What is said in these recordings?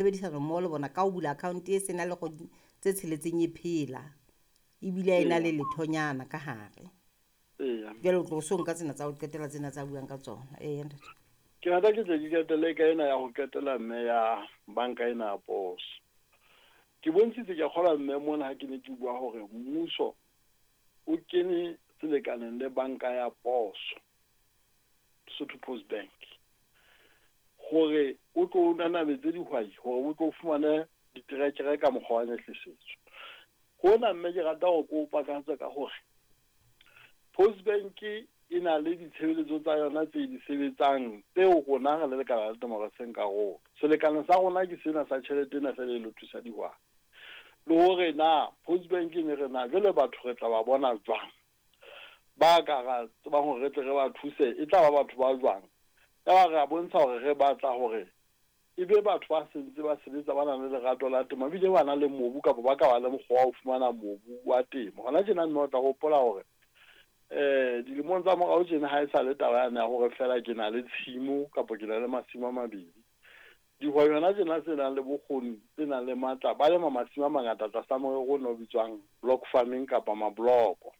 Tshebedisano mmoho le bona ka ho bula account e sena le kgwedi tse tsheletseng e phela ebile a e na le lethonyana ka hare. Jwale o tlo so nka tsena tsa ho qetela tsena tsa buang ka tsona. Eya ntate. Ke rata ke tle ke qetelle ka ena ya ho qetela mme ya banka ena ya poso. Ke bontshitse ke kgolwa mme mona ha ke ne ke bua hore mmuso o kene selekaneng le banka ya poso, Lesotho Post Bank, hore o tlo o nanabetse dihwai hore o tlo o fumane diterekere ka mokgwa wa nyehlisetso. Hona mme ke rata hore ke o pakahatse ka hore Post Bank e na le ditshebeletso tsa yona tse di sebetsang tseo rona re le lekala la temo re seng karolo. Selekane sa rona ke sena sa tjhelete ena feela e lo thusa dihwai. Le hore na Post Bank e ne re na jwale batho re tla ba bona jwang? Ba ka ra tsebang hore re tle re ba thuse e tla ba batho ba jwang? Yaba re a bontsha hore re batla hore e be batho ba sentse ba sebetsa ba nang le lerato la temo ebile ba na le mobu kapa ba ka ba le mokgwa wa ho fumana mobu wa temo. Hona tjena mme o tla hopola hore dilemong tsa morao tjena ha e sa le taba yane ya hore feela ke na le tshimo kapa ke na le masimo a mabedi. Dihwai hona tjena tse nang le bokgoni, tse nang le matla, ba lema masimo a mangata tlasa morero ona o bitswang block farming kapa mabloko.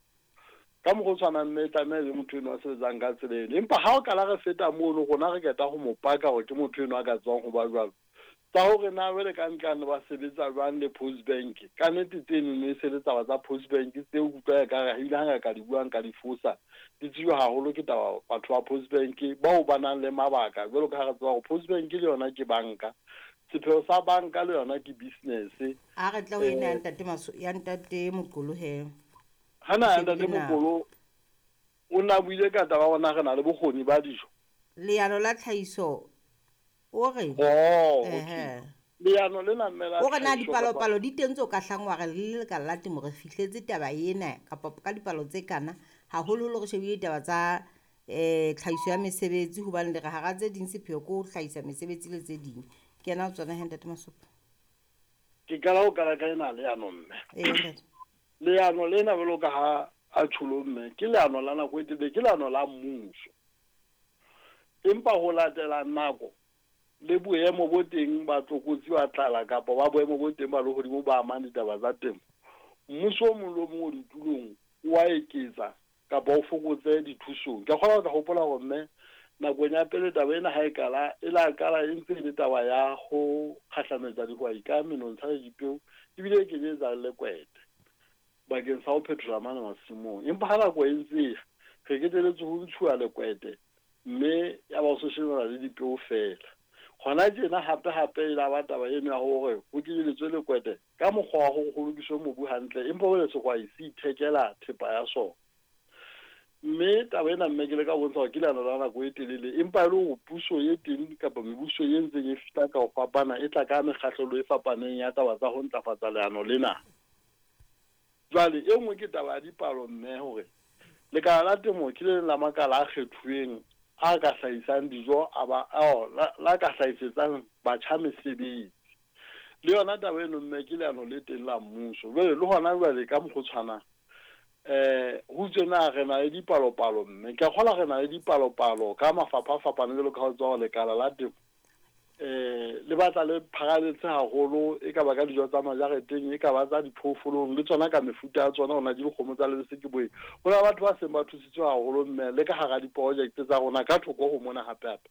Ka mokgwa o tshwanang mme e tlameha e be motho enwa a sebetsang ka tsela eno. Empa ha o kala re feta mono rona re qeta ho mo paka hore ke motho enwa a ka tsebang ho ba jwalo. Tsa hore na jwale ka ntlane ba sebetsa jwang le Post Bank, ka nnete tsenono e se le taba tsa Post Bank tseo ke utlwa ekare ebile ha nka ka di bua nka di fosa. Di tsejwa haholo ke taba batho ba Post Bank bao ba nang le mabaka jwalo ka ha re tseba hore Post Bank le yona ke banka. Sepheo sa banka le yona ke business. A re tle ho ena ya ntate Maso, ya ntate Moqolo he. Hana ya ntate Moqolo o na buile ka taba hore na re na le bokgoni ba dijo. Leano la tlhahiso o re. Oh, okay. Leano lena mme la O re na dipalopalo di teng tseo ka hlang wa re le lekala la temo re fihletse taba ena kapa ka dipalo tse kana, haholoholo re shebile ditaba tsa tlhahiso ya mesebetsi hobane le re hara tse ding sepheo ke ho hlahisa mesebetsi le tse ding. Ke ena ho tsona he ntate Masopha. Ke qala ho qala ka ena leano mme. Ee ntate. Leano lena jwalo ka ha a tjholo mme ke leano la nako e telele, ke leano la mmuso. Empa ho latela nako le boemo bo teng ba tlokotsi ba tlala kapa ba boemo bo teng ba lehodimo ba amang ditaba tsa temo, mmuso o mong le o mong o ditulong o a eketsa kapa o fokotse dithusong. Ke a kgolwa o tla hopola hore mme nakong ya pele taba ena ha e qala, e la qala e ntse e le taba ya ho kgahlametsa dihwai ka menontsha le dipeo ebile e kenyetsa le lekwete bakeng sa ho phethola mane masimong. Empa ha nako e ntse e ya, re keteletswe ho ntshuwa lekwete mme ya ba ho so shebana le dipeo feela. Hona tjena hape hape e la ba taba eno ya hore ho kenyeletswe lekwete ka mokgwa wa hore ho lokiswe mobu hantle empa jwale sehwai se ithekela thepa ya sona. Mme taba ena mme ke leka ho bontsha hore ke leano la nako e telele empa e le hore puso e teng kapa mebuso e ntseng e fihla ka ho fapana e tla ka mekgahlelo e fapaneng ya taba tsa ho ntlafatsa leano lena. Jwale e nngwe ke taba ya dipalo mme hore lekala la temo ke le leng la makala a kgethuweng a ka hlahisang dijo a ba la, la ka hlahisetsang batjha mesebetsi. Le yona taba eno mme ke leano le teng la mmuso. Jwale le hona jwale ka mokgwa o tshwanang ho itswe na re na le dipalopalo mme ke a kgolwa re na le dipalopalo ka mafapha a fapaneng jwalo ka ha o tseba hore lekala la temo le batla le pharaletse haholo e ka ba ka dijo tsa majareteng e ka ba tsa diphoofolong le tsona ka mefuta ya tsona hona ke dikgomo tsa lebese ke boeng. Ho na le batho ba seng ba thusitswe haholo mme le ka hara diprojekte tsa rona ka thoko ho mona hape hape.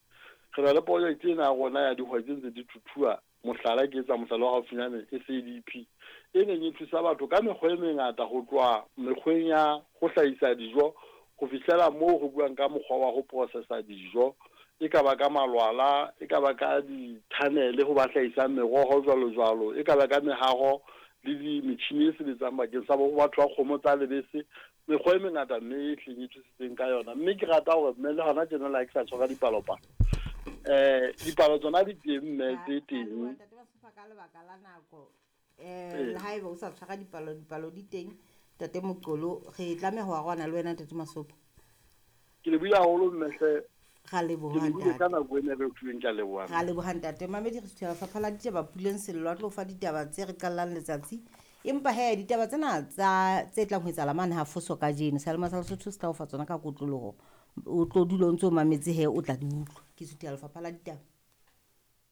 Re na le projekte ena ya rona ya dihwai tse ntse di thuthuwa mohlala ke etsa mohlala wa haufinyane SADP e neng e thusa batho ka mekgwa e mengata ho tloha mekgweng ya ho hlahisa dijo ho fihlela moo re buang ka mokgwa wa ho processa dijo e ka ba ka malwala e ka ba ka di-tunnel ho ba hlahisang meroho jwalo jwalo e ka ba ka mehaho le di metjhini e sebetsang bakeng sa bo batho ba kgomo tsa lebese mekgwa e mengata mme e hleng e thusitseng ka yona. Mme ke rata hore mme le hona tjena le ha ke sa tshwara dipalopalo dipalo tsona di teng mme tse teng. Ntate Masofa ka lebaka la nako le haeba o sa tshwara dipalo, dipalo di teng ntate Moqolo re tlameha ho arohana le wena ntate Masopa. Ke lebohile haholo mme hle. Ra leboha Ke lebohile ka ntate. nako ena re fuweng, ke a leboha. Ra leboha ntate. Mamedi re suthela lefapha la ditaba Puleng Sello a tlo fa ditaba tse re qallang letsatsi. Empa he ditaba tsena tsa tse tlang ho etsahala mane ha Foso kajeno. Sealema sa Lesotho se tla o fa tsona ka kotloloho. O tlo dula o ntso mametse he o tla di utlwa. Ke suthela lefapha la ditaba.